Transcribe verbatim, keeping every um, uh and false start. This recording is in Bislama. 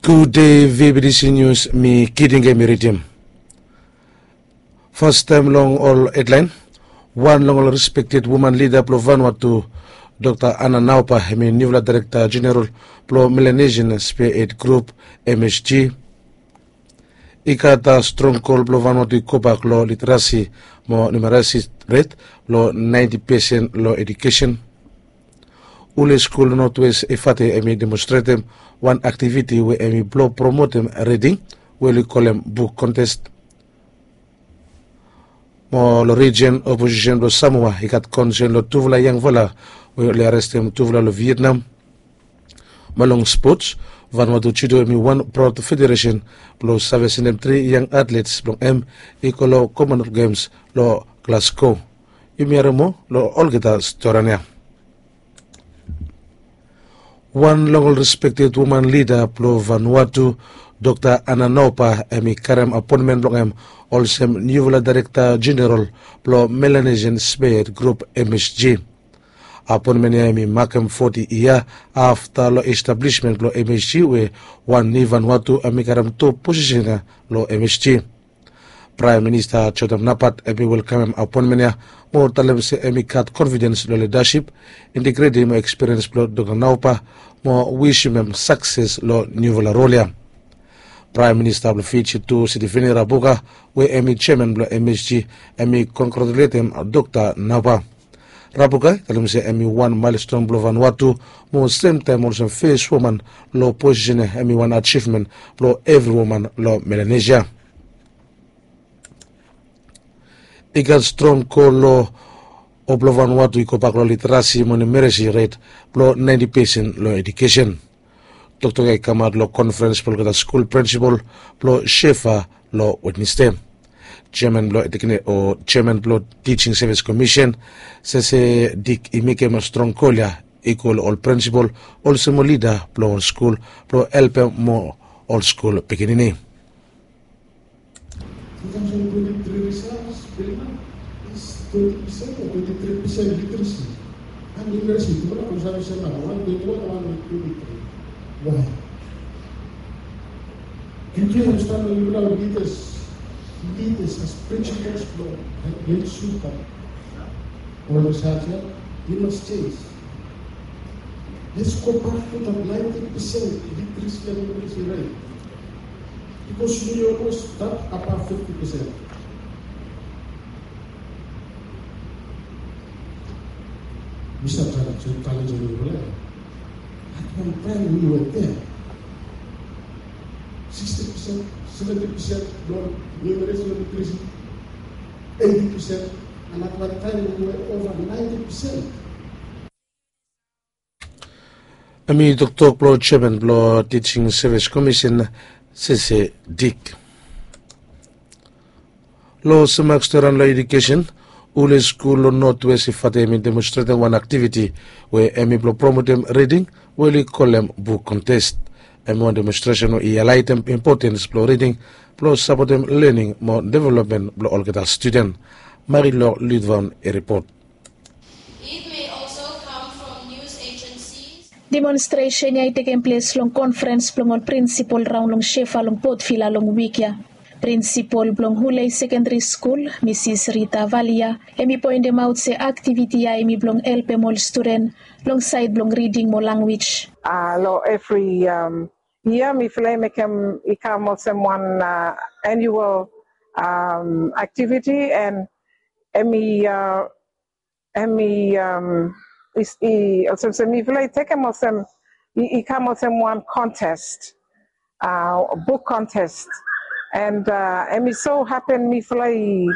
Gud dei, vbtc nius. Mi Kiding em i ridim. Fastaem long ol hedlaen, wan long ol respekted woman lida blong Vanuatu, Dokta Anna Naupa, em i niufala daerekta jeneral blong Melanesian Spearhead Group, M S G. I gat strong kol blong Vanuatu i gobak long literasi mo numerasi ret blong naenti pesen long edukesen. Ule skul long Notwes Efate em i demonstretem wan aktiviti we em i blong promotem riding, we oli kolem buk kontes. Mo long rijen, oposisen blong Samoa i gat konsen long tufala yangfala we oli arestem tufala long Vietnam. Mo long spots, Vanuatu Judo em i wan praod federesen blong save sendem tri yang atlets blong hem i go long Commonwealth Games long Glasgow. Yumi harem moa long olgeta storian ya. Wan long ol respekted woman lida blong Vanuatu, Dokta Anna Naupa, em i karem apoenmen blong hem olsem niufala daerekta jeneral blong Melanesian Spearhead Group, M S G. Apoenmen ya em i makem foti yia afta long establismen blong M S G, we wan niu Vanuatu em i karem top posisen ya long M S G. Praem Minista Jotam Napat em i welkamem apoenmen ya mo talem se em i gat konfidens long lidasip, integritim mo ekspiriens blong Dokta Naupa, mo wisim hem sakses long niufala rol ya. Praem Minista blong Fiji tu, Sitiveni Rabuka, we em i jeaman blong M S G, em i kongratuletem Dokta Naupa. Rabuka i talem se em i wan maelston blong Vanuatu, mo semtaem olsem fes woman long posisen ya em i wan ajivmen blong evri woman long Melanesia. I gat strong kol long ol blong Vanuatu i gobak long literasi mo numerasi ret blong naenti pesen long edukesen. Toktok ya i kamaot long konferens blong olgeta skul prinsipal blong Shefa long Wednesde. Jeaman blong teknik o jeaman blong Teaching Service Commission, Sese Dik, i mekem strong kol ya i go long ol prinsipal olsem ol lida blong ol skul blong helpem moa ol skul pikinini. Two thousand twenty-three results, Belima is twenty percent or twenty-three percent literacy. And literacy, tufala ol save sem nao, wan twenty-one, wan twenty-three. Why? Yu tu yu mas stap long yufala leaders, leaders as principals blong Lake Suka. Ol research ya, yu mas change. Let's go back to that ninety percent literacy and numeracy rate. Because we almost that above fifty percent. We start challenge, challenge everywhere. At one time we were there. Sixty percent, seventy percent, no, numeracy, no literacy, eighty percent, and at one time we were over ninety percent. Em i toktok blong jeaman blong Teaching Service Commission, Sese Dik. Long sem mak storian long edukesen, ule skul long Notwes Efate em i demonstretem wan aktiviti we em i blong promotem riding, we oli kolem buk kontes. Em i wan demonstresen we i hailaetem impotens blong riding blong sapotem lening mo developmen blong olgeta studen. Marilou Ludvaun i ripot. It may also come from news agencies. Demonstresen ya i tekem ples long konferens blong ol prinsipol raon long Shefa long Port Vila long wik ya. Prinsipol blong Hulei Sekendari Skul, Misis Rita Valia, hem i poendemaot se aktiviti ya hem i blong helpem ol studen long saed blong riding mo lanwis. Ah, long evri, um, yia mifala i mekem i kam olsem wan, uh, annual, um, activity, and hem i, uh, hem i, um, i, i, olsem se mifala i tekem olsem, i, i kam olsem wan contest, uh, book contest. And, uh, hem i so happen mifala i,